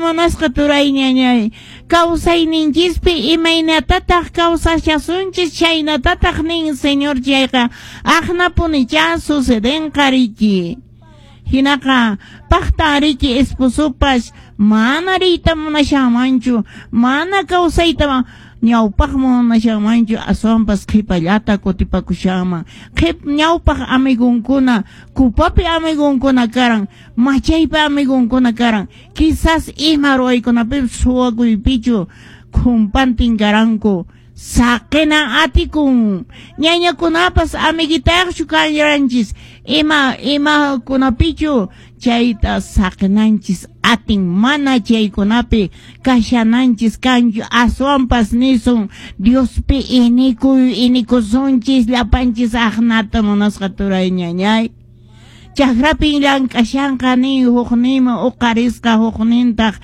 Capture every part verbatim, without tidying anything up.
Munasqa turay, ñañay, kawsayninchispi imaynatataq kawsashasunchis, chaynatataq nin Señor chayqa aqnapunichá sucedenqa riki. Hinaqa paqta riki esposopas mana riyta munashanmanchu, mana kawsayta ñawpaqman munashanmanchu, aswanpas qhipallata kutipakushanman. Qhip ñawpaq amigunkuna, kupapi amigunkuna karan, machaypi amigunkuna karan, quizás ima ruwaykunapipas suwakuypichu khumpantin karanku. Saqina atikun. Ñañakunapas amiguitayaqchu kanranchis, ima imakunapichu chayta saqinanchis atin, mana chaykunapi kashananchis kanchu, aswanpas nisun Diospi inikuy inikusunchis llapanchis aqnata, munasqa turay, ñañay. Chakrapin llank'ashanqa nin, hukninman uqarisqa, huknintaq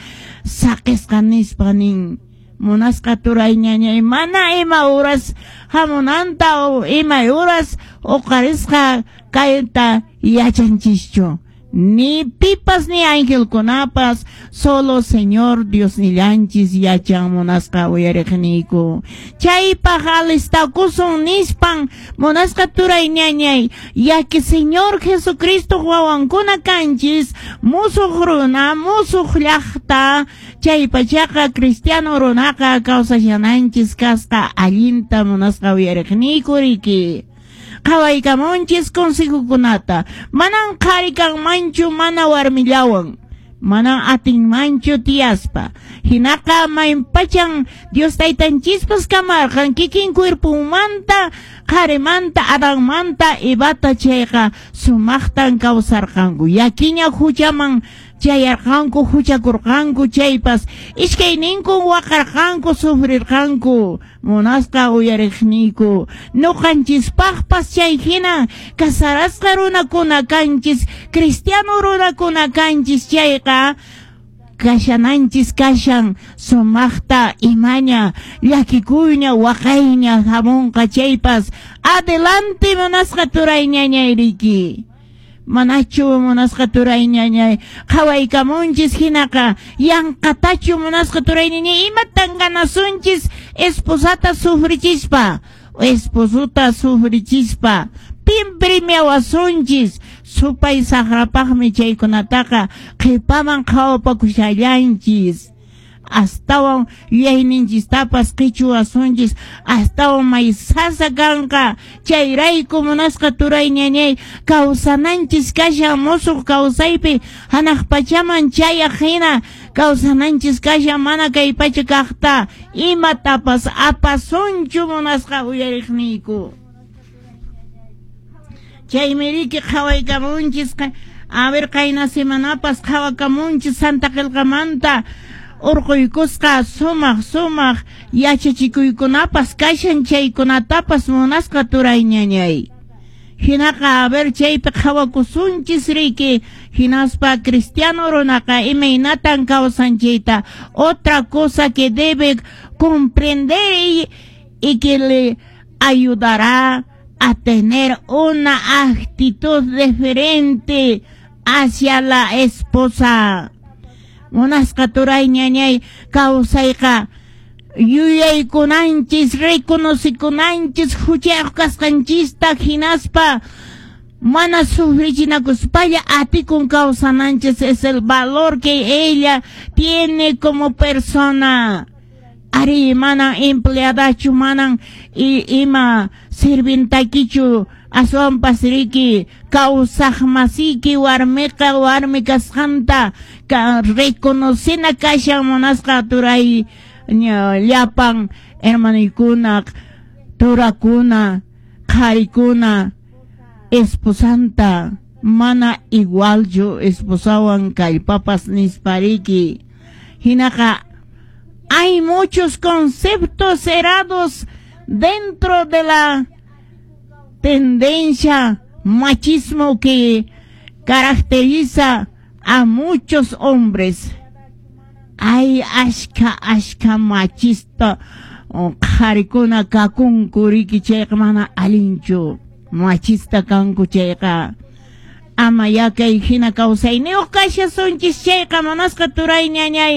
saqisqa nispa nin. Munasqa turay, ñañay, mana ima uras hamunanta o ima uras uqarisqa kayta yachanchischu, ni pipas ni angelkunapas, solo Señor Diosnillanchis yachan, munasqa uyariqniyku. Chaypaq alistakusun nispan, munasqa turay, ñañay, ya que Señor Jesucristo wawankuna kanchis, musuq runa, musuq llaqta, chaypachaqa cristiano runaqa kawsashananchis kasqa allinta, munasqa uyariqniyku riki. Qhawaykamunchis consejokunata. Manan qhari kanmanchu mana warmillawan, manan atinmanchu tiyaspa. Hinaqa maypachan Dios taytanchispas kamarqan kikin cuerpunmanta qharimanta, Adanmanta Evata, chayqa sumaqtan kawsarqanku. Yakiña huchaman chayarqanku, huchakurqanku chaypas iskayninkun waqarqanku, sufrirqanku. Munasqa uyariqniyku, ñuqanchispaqpas chay hina casarasqa runakuna kanchis, cristiano runakuna kanchis chayqa kashananchis kashan sumaqta. Imaña llakikuyña, waqayña hamunqa chaypas, adelante, munasqa turay, ñañay, riki. Manachu, munasqa turay, ñañay, qhawaykamunchis hinaqa yanqatachu, munasqa turay, ñañay, imatan ganasunchis esposata sufrichispa, esposota sufrichispa? Pin premiawasunchis? Supay saqrapaqmi chaykunataqa qhipaman qhawapakushallanchis, astawan yuyayninchistapas qichuwasunchis, astawan may sasa kanqa. Chayrayku, munasqa turay, ñañay, kawsananchis kashan musuq kawsaypi, hanaq pachaman chayaq hina kawsananchis kashan, mana kay pacha kaqta imatapas apasunchu, munasqa uyariqniyku. Chaymi riki qhawaykamunchis. A ver, qayna semanapas qhawakamunchis Santa Qillqamanta urquykusqa sumaq sumaq yachachikuykunapas kashan, chaykunatapas, munasqa turay, ñañay. Hinaqa a ver, chaypi qhawakusunchis riki, hinaspa cristiano runaqa imaynatan kawsan chayta. Otra cosa que debe comprender y, y que le ayudará a tener una actitud diferente hacia la esposa. Munasqa turay, ñañay, kawsayqa yuyaykunanchis, reconocikunanchis huchayuq kasqanchista, hinaspa mana sufrichinakuspalla atikun kawsananchis. Es el valor que ella tiene como persona. Ari, manan empleadachu, manan ima sirvientakichu, aswanpas riki kawsaq masiki warmiqa warmi kasqanta ka reconocina kashan, munasqa turay, llapan hermanuykuna, turakuna, qharikuna, esposanta mana igualchu esposawan kallpapas nispariki. Hinaqa hay muchos conceptos errados dentro de la tendencia machismo que caracteriza a muchos hombres. Hay ashka ashka machista qharikuna kakunku riki, chayqa mana allinchu machista kanku chayqa. Ama yakay hina kawsayniyuq kashasunchis chayqa, munasqa turay, ñañay.